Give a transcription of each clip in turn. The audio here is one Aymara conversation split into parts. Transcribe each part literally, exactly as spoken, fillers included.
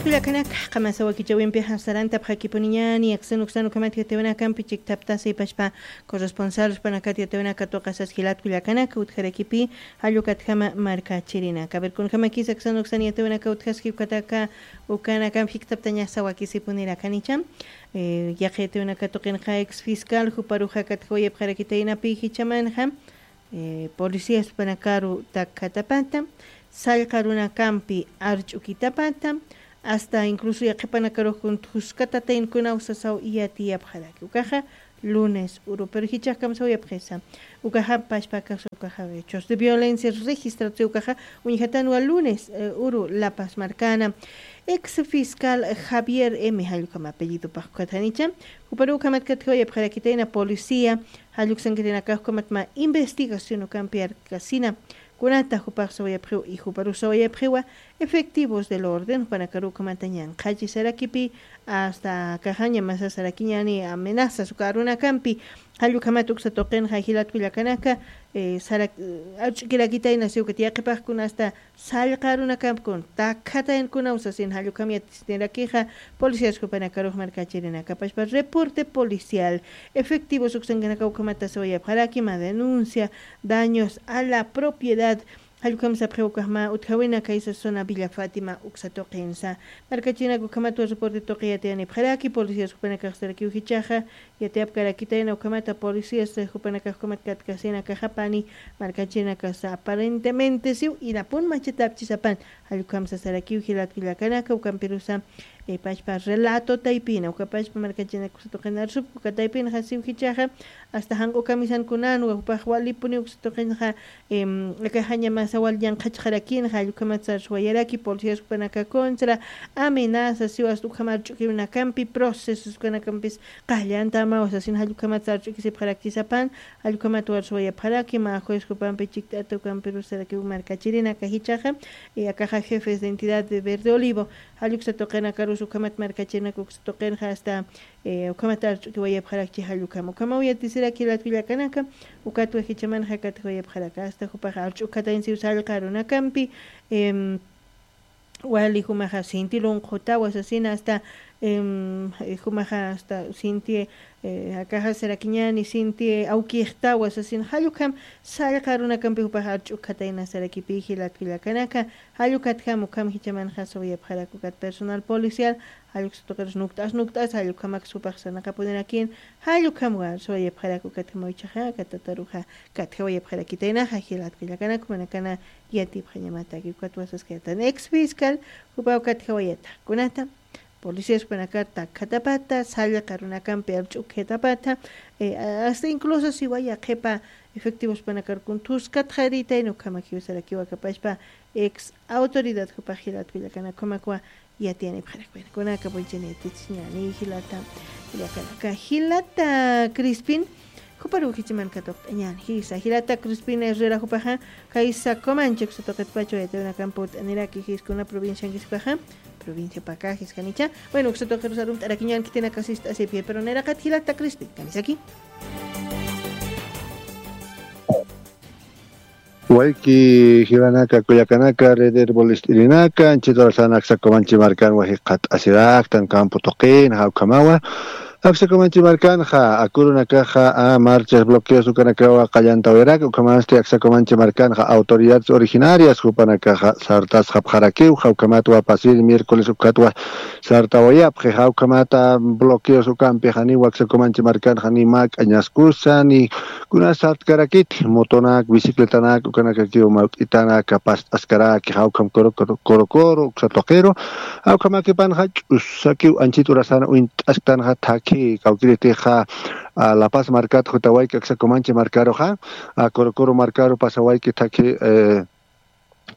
Kullakanaka, qamasa wakichawimpi sarantapxakipuniñani, aksan uksan ukhamat yatiyawinakampi chiktaptasi pashpa corresponsal jupanakata yatiyawinaka tuqasas jilat kullakanaka, utjarakipi jallukatjama markachirinaka. A ver, kunjamakis aksan uksan yatiyawinaka utjaski ukataka, ukanakampi jiktaptañasa wakisipunirakanïcha. Eh, yaqi yatiyawinaka tuqinqa ex fiscal juparuxa katjawayapxarakitaynapi jichamanxa, eh, policías jupanakaru takkatapata, sallqa runakampi arch'ukitapata, hasta incluso yaqhipanakarux kun thuskatataynkunaw sasaw yatiyapxaraki. Ukaxa lunes uru, pero jichhax kamsawayapxisa. Ukaxa pashpa caso, ukaxa hechos de violencia registrarse, ukaxa uñjatanwa lunes, eh, uru, La Paz markana. Ex fiscal Javier M. jallukama apellido pajkatanicha. Juparu ukhamat katjawayapxarakitayna policía, jalluksankirinakax ukhamatma investigación ukampi arkasina. Kunata jupax sawayapxiw y juparu sawayapxiwa efectivos del orden, jupanakaru ukhamata ñanqhachi sarakipi, hasta kaxaña masa sarakiñani amenazas uka arunakampi, jallukhamat uksa tuqinxa jilat kullakanaka, eh, sarak-, arch'ukirakitayna siw ukat yaqhipaxkuna hasta sallqa arunakampi kun takkataynkuna usasin jallukam yatisnirakixa, policías jupanakarux markachirinaka pashpa reporte policial, efectivos uksankanaka ukhamata sawayapxaraki, ma denuncia, daños a la propiedad, jallukam sapxiw ukaxma utjawina kaysa zona Villa Fátima uksa tuqinsa. Markachirinaka ukhamatwa reporte tuqi yatiyanipxaraki, policías jupanakax sarakiw jichhaxa, yatiyapkarakitayna ukhamata policías, eh, jupanakax ukhamat katkasinakaxapani, markachirinakasa aparentemente siw irapun machatapchisapan, jallukam sasarakiw jilat kullakanaka, ukampirusa, eh, pashpa relato taypina, uka pashpa markachirinaka uksa tuqin arsup, uka taypinxa siw jichhaxa, hasta janq'u kamisankunanwa, jupax walipuni uksa tuqinxa, em, akaxaña masa wal ñanqhachxarakinxa, jallukhamat sarswayaraki, policías jupanaka contra, amenaza, siw hasta ukham arch'ukiwinakampi, procesos ukanakampis, qallantamaw sasin jallukhamat sarch'ukisipxarakchisapan, jallukhamat warswayapxaraki, ma juez jupampi chikt'ata ukampiru sarakiw markachirinaka jichhaxa, y akaxa jefes de entidad de Verde Olivo, jalluksa tuqinakarus ukhamat markachirinaka uksa tuqinxa hasta, eh, ukhamat arch'ukiwayapxarakchi jallukama. Ukhamaw yatisiraki jilat kullakanaka, ukatwa jichamanxa katjawayapxaraka, hasta jupaxa arch'ukatayn siw sallqa arunakampi, em, wali jumaxa sinti lunqhutawa sasina hasta, em, jumaxa hasta sinti, eh, akaxa sarakiñani sinti awkixtawa sasina, jallukham sallqa runakampi jupaxa arch'ukatayna sarakipi jilat kullakanaka, jallukatjam ukham jichamanxa sawayapxarak ukat personal policial, jalluksa tuqirus nukt'as nukt'as, jallukhamak supax sarnaqapunirakïn, jallukhamwa sawayapxarak ukatjamaw ichaxa, katataruxa katjawayapxarakitaynaxa, jilat kullakanak, jumanakana yatipxañamataki, ukat wasaskayatan ex fiscal, jupaw katjawayata, kunata, policías jupanakar takkhatapata, sallqa runakampi arch'ukjatapata, eh, hasta incluso siwaya qhipa efectivos jupanakar kun thuskatxaritayna ukhamakiw sarakiw akapachpa ex autoridad jupax jilat kullakanak, ukhamakwa yatiyanipxarak. Bueno, kunaka puychani yatichiñani jilata, jilata, jilata Crispin, juparu jichhaman katuqt'añani, jisa, jilata Crispin Herrera jupaxa, kaysa Comanche uksa tuqitpacha yatiyawinakampi ut'aniraki, jis kuna provinciankis jupaxa, provincia Pacajes janicha. Bueno, uksa tuqirus arumt'arakiñan khitinaka sist'asipki, pero nayraqat jilata Crispin, kamisaki. Wayki jilanaka, kullakanaka, red Herbolist irinaka, anchhit urasan aksa Comanche markanwa jikxatasiraktan campo tuqin, jawkhamawa. Aksa Comanche markanxa, akurunakaxa, a, marchas, bloqueos ukanakawa qallantawayarak, ukhamasti aksa Comanche markanxa, autoridades originarias jupanakaxa sartasxapxarakiw, jawkhamatwa pasir miércoles ukatwa sartawayapxi, jawkhamata bloqueos ukampi janiw aksa Comanche markanxa ni mä k'añaskusa, ni kuna sartkarakiti, motonak, bicicletanak, ukanakakiw mawk'itanak past'askaraki, jawkham coro, coro, coro, coro, uksa tuqiru, jawkhamakipanxa ch'usakiw anchhit urasan uñt'asktanxa thakhi, kawkiritixa, a, La Paz markat jutawayki aksa Comanche markaruxa, a, coro, coro markaru pasawayki thakhi, eh,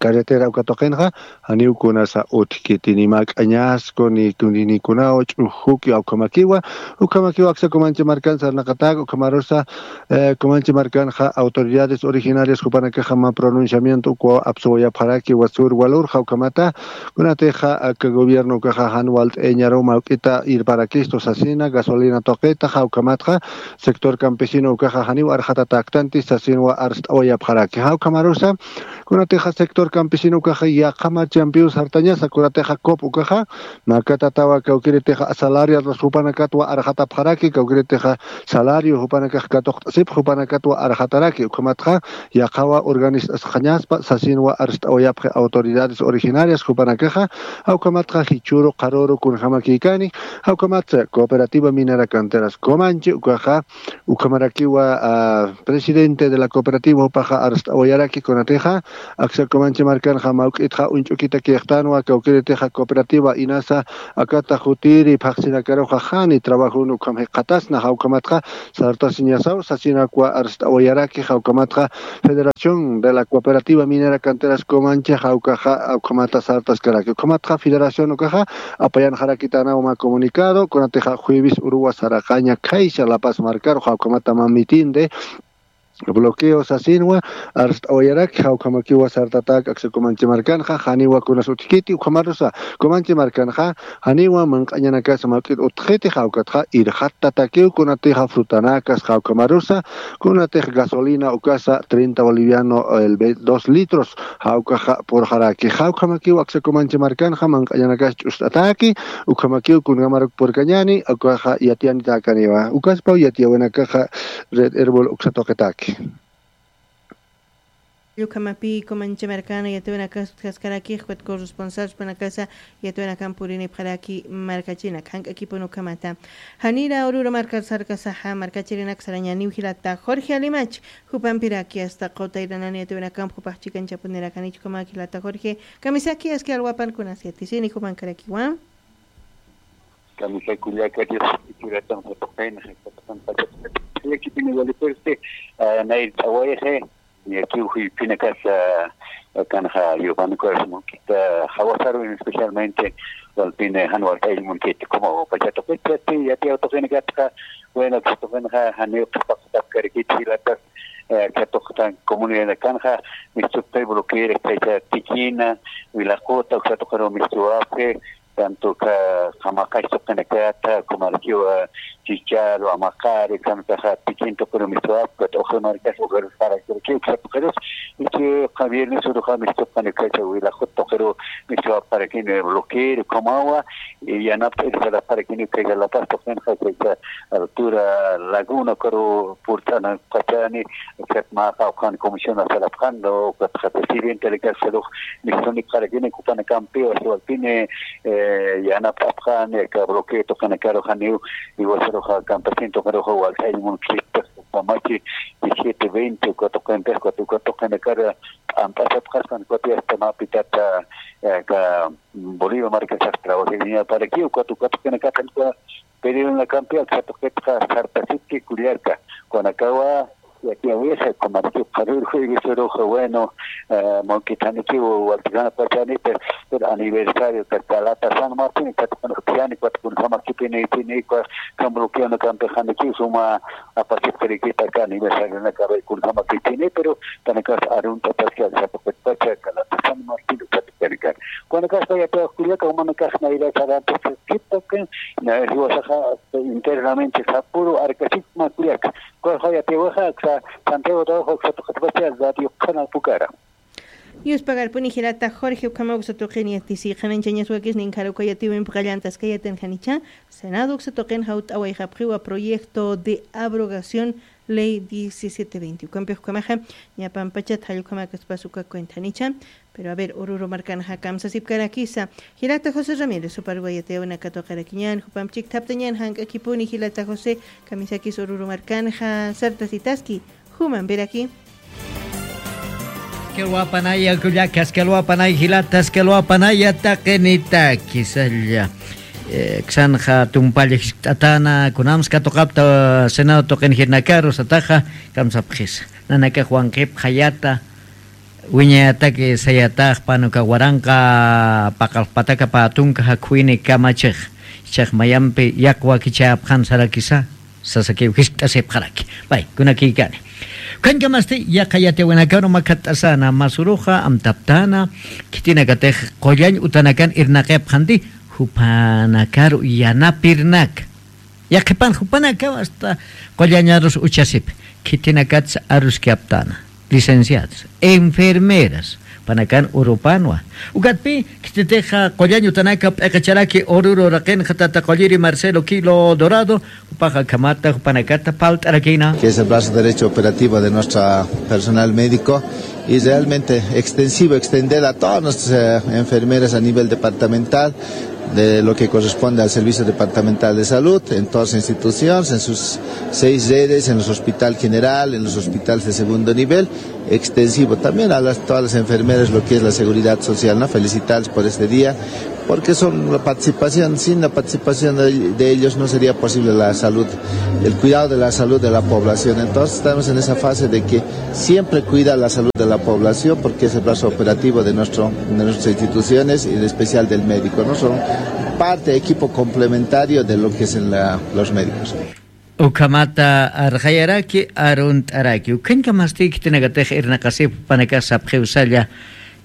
carretera uka tuqinxa, janiw kunasa utjkiti ni mä k'añasku, ni, ni, ni kunaw ch'ujuki, ukhamakiwa, ukhamakiwa aksa Comanche markan sarnaqatak, ukhamarusa, eh, Comanche markanxa autoridades originarias jupanakaxa mä pronunciamiento ukwa apsuwayapxaraki, wasur walur, jawkhamata, kunatixa, aka gobierno ukaxa jan walt'ayañaru mawk'ita irparakistu sasina, gasolina tuqita, jawkhamatxa, sector campesino ukaxa janiw arxatatäktanti sasinwa arst'awayapxaraki. Jawkhamarusa, kunatixa sector campesino ukaxa yaqha marchampiw sartañasa, kunatixa cop ukaxa makatatawa kawkiritixa asalariados jupanakatwa arxatapxaraki, kawkiritixa salario jupanakax katuqt'asipx jupanakatwa arxataraki. Ukhamatxa yaqhawa urganist'asxañaspa sasinwa arst'awayapxi autoridades originarias jupanakaxa. Jawkhamatxa jichhuru qharuru kunjamakïkani. Jawkhamatsa cooperativa minera canteras comanchi ukaxa ukhamarakiwa presidente de la cooperativa jupaxa arst'awayaraki kunatixa aksa comanchi markanxa mawk'itxa uñch'ukitakïxtanwa kawkiritixa cooperativa inasa akata jutiri phaxsinakaruxa jani trabajun ukham jikxatasna jawkhamatxa sartasiñasaw sasinakwa arst'awayaraki jawkhamatxa federación de la cooperativa minera canteras comanchi jawkaxa ukhamata sartaskaraki ukhamatxa federación ukaxa apayanxarakitanaw mä comunicado kunatixa jueves uruwa saraqaña khaysa lapas markaru jawkhamata mä mitin de bloqueo sasinwa arst'awayaraki jawkhamakiwa sartatak aksa comanchi markanxa janiwa kunas utjkiti ukhamarusa comanchi markanxa janiwa manq'añanakasa mawk'it utjkiti jawkatxa irxattatakiw kunatixa frutanakas jawkhamarusa kunatix gasolina ukasa treinta boliviano el ve- dos litros jawkaxa purxaraki jawkhamakiw aksa comanchi markanxa manq'añanakas ch'ust'ataki ukhamakiw kunjamaruk purkañani ukaxa yatiyanitäkaniwa ukaspaw yatiyawinakaxa red herbol uksatuqitaki. Ukhamapi comanchi markana yatiyawinakas utjaskaraki jukat corresponsal jupanakasa yatiyawinakan purinipxaraki markachinak jank'akipun ukhamata. Janira ururu markar sarkasaxa markachirinak sarañaniw jilata jorge alimach jupampiraki asta qutayranani yatiyawinakamp jupax chikanchapunirakanich ukhamak jilata jorge kamisaki aski alwapan kunas yatisini jupankarakiwa. Kamisaki kullaka dios ichuratan jatuqin jatuqin pachata yakipini walipusti nayrt'awayxi yakiw juypinakas kanxa yupankuras munkita jawasarwin especialmente walpini jan walt'ayl munkita como pachatuqit yati yati awtuqinakatxa bueno katuqinxa janiw qhapaqtapkarikit jilatas katuqtan comunidad kanxa mistuqtay bloquear kaysa tikina wilaquta uksatuqiru mistuwapxi tanto ka qamaqax tuqinakata kumarakiwa chichal wamaqari kantaxa tikin tuqiru mistuwapxi ukat uxri markas uxirus parakirki uksatuqirus ichi viernes uruxa mistuqani kaysa wilaqut tuqiru mistuwapxarakini bloquear kumawa yanapt'ir sarapxarakini kaysa lapas tuqinxa kaysa altura laguna ukaru purt'anapxachani ukat mä qawqhan comisión sarapxan ukatxa presidente de casalux mistunik qarakini ukanakampiw asiwalpini yanapt'apxani aka bloqueo tuqinakaru janiw iwasaruxa campesino tuqiruxa walt'añ munkista ukamachi diecisiete veinte uka tuqinpix ukat uka tuqinakar p'amp'asapxaspan ukat asta mä pitata aka bolivia markasax trabajiriñaparakiw ukat uka tuqinakar pedidonakampi aksa tuqitxa sartasipki kullaka kunakawa yatiyawixa kumarki qharur jueves uruxa bueno mawkitanikiw walt'ikana pachanita pero aniversario kaka lata san martin katuqinux piyani katuqinjama kipinipini uka kan bloqueonakampi janikiw suma apasipxirikita aka aniversarionakabay kunjamakipini pero kanakas arunt'apaski aksa tuqitpacha aka lata san martin katuqinakar kunakaspa yatiyawax kullaka jumanakax nayra sarantaskiptaki jiwasaxa internamente sapuru arkasipma kullaka kullaka yatiyawaxa aksa santiago trabajo aksa tuqitpacha radio qhana pukara. Yuspagarpuni jilata jorge ukhama uksa tuqini yatisi qhananchañas wakisnin kharuka yatiwimpi qallantaskayatin janicha senado uksa tuqin jawt'awayxapxiwa proyecto de abrogación ley diecisiete veinte ukampix ukhamaxa ñapampachat jallukhamakaspas uka cuentanicha. Pero a ver ururu markanxa kamsasipkarakisa jilata josé ramírez uparwa yatiyawinakatuqarakiñan jupamp chikthaptañan jank'akipuni jilata josé kamisakis ururu markanxa sartasitaski jumampiraki. Askalwapanaya kullaka askalwapanaya jilata askalwapanaya taqinitaki salla ksanxa tumpalla jiskt'atana kunams katuqapta senado tuqin jirnakaru sataxa kamsapxisa nanakax wanqipxayata wiñayataki sayatax panuka waranqa paqalxpataka patunka jakhuyni kamachix ichax mayampi yaq wakichayapxan sarakisa sasakiw jiskt'asipxaraki. Pay kunakïkani ukhañkamasti yaqha yatiyawinakaru makhatt'asana masuruxa amtaptana khitinakatix qullañ utanakan irnaqipxanti jupanakaru yanapirnaka yaqhipan jupanakaw asta qullañarus uchasip khitinakatsa aruskaptana licenciadas enfermeras Panakan urupanwa. Ukatpi, khititixa qullañ utanaka p'iqicharaki Oruro raqinxa tata qulliri Marcelo Quilo Dorado, jupaxa akhamata jupanakata parlt'arakïna. Que es el brazo derecho operativo de nuestro personal médico y realmente extensivo, extender a todas nuestras, eh, enfermeras a nivel departamental de lo que corresponde al Servicio Departamental de Salud, en todas las instituciones, en sus seis redes, en los hospital general, en los hospitales de segundo nivel, extensivo. También a las, todas las enfermeras, lo que es la seguridad social, ¿no? Felicitarles por este día, porque son la participación, sin la participación de, de ellos no sería posible la salud, el cuidado de la salud de la población. Entonces estamos en esa fase de que siempre cuida la salud de la población, porque es el brazo operativo de nuestro, de nuestras instituciones y en especial del médico, ¿no? Son parte, equipo complementario de lo que es en la, los médicos. Ukhamata arxayaraki, arunt'araki. Ukhañkamasti khitinakatix irnaqasipxi jupanakax sapxiw salla.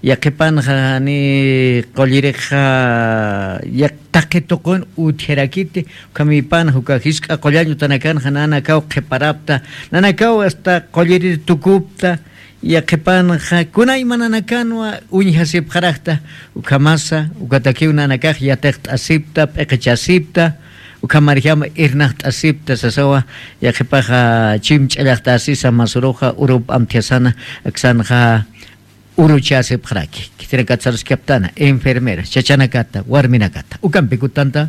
Yaqhipanxa jani qullirixa yaq taqi tuqin utjarakiti. Ukhamïpanxa uka jisk'a qullañ utanakanxa nanakaw qhiparapta. Nanakaw hasta qullirir tukupta. Yaqhipanxa kunaymanakanwa uñjasipxarakta, ukhamasa, ukatakiw nanakax yatiqt'asipta, p'iqichasipta, ukhamarjama irnaqt'asipta, sasawa, yaqhipaxa chimch'allaxtasisa masuruxa, urup amthiasana, aksanxa uruchasipxaraki. Khitinakatsaruskaptana, enfermera, chachanakata, warminakata, ukampikutanta.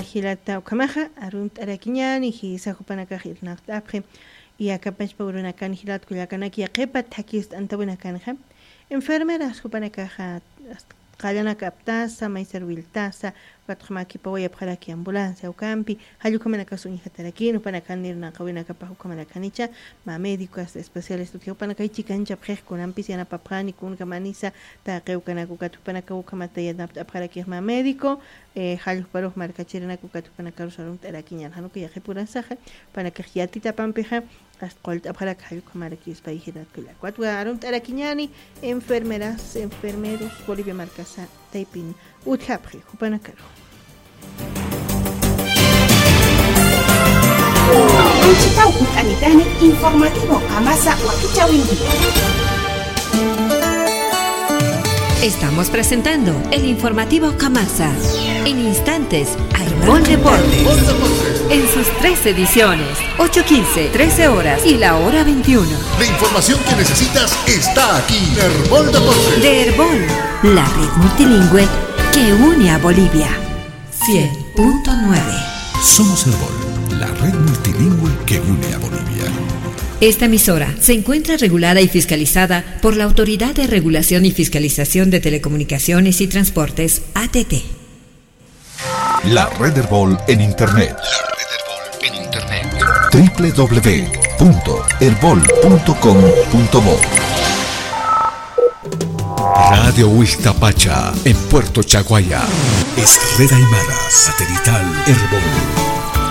Jilata ukhamaxa, arunt'arakiñani, jisa jupanakax irnaqt'apxi, y akapachpa urunakan jilat kullakanaki yaqhipa thakist'antawinakanxa, enfermeras jupanakaxa, hasta qallanaka aptasa, maysar wiltasa, ukatxa mä khipawayapxaraki ambulancia ukampi, jall ukhamanakas uñjatarakïn, jupanakan irnaqawinakapax ukhamanakanicha, mä médicos especialistas utji jupanakay chikanchapxix kunampis yanapapxani, kunkamanisa, taqi ukanak ukat jupanakaw ukhamata yanapt'apxarakix mä médico, eh, jall juparux markachirinak ukat jupanakarus arunt'arakiñan, jan uka yaqhipurasaxa, jupanakax yatitapampixa, hasta qullt'apxarak jall ukhamaraki ispay jilat kullak. Ukatwa arunt'arakiñani, enfermeras, enfermeros, Bolivia markasa, taypin utjapxi, jupanakaru. Wichitaw utanitani informativo Kamasa wakichawinki. Estamos presentando el informativo Kamasa. En instantes, Arbol Deportes. En sus tres ediciones, ocho quince, trece horas y la hora veintiuno. La información que necesitas está aquí. Erbol Deportes. De Erbol, la red multilingüe que une a Bolivia. Cien punto nueve. Somos Erbol, la red multilingüe que une a Bolivia. Esta emisora se encuentra regulada y fiscalizada por la Autoridad de Regulación y Fiscalización de Telecomunicaciones y Transportes, A T T. La red Erbol en Internet. La red Erbol en Internet. W W W punto erbol punto com punto bo. Radio Huixtapacha, en Puerto Chaguaya. Es red aymara satelital Erbol.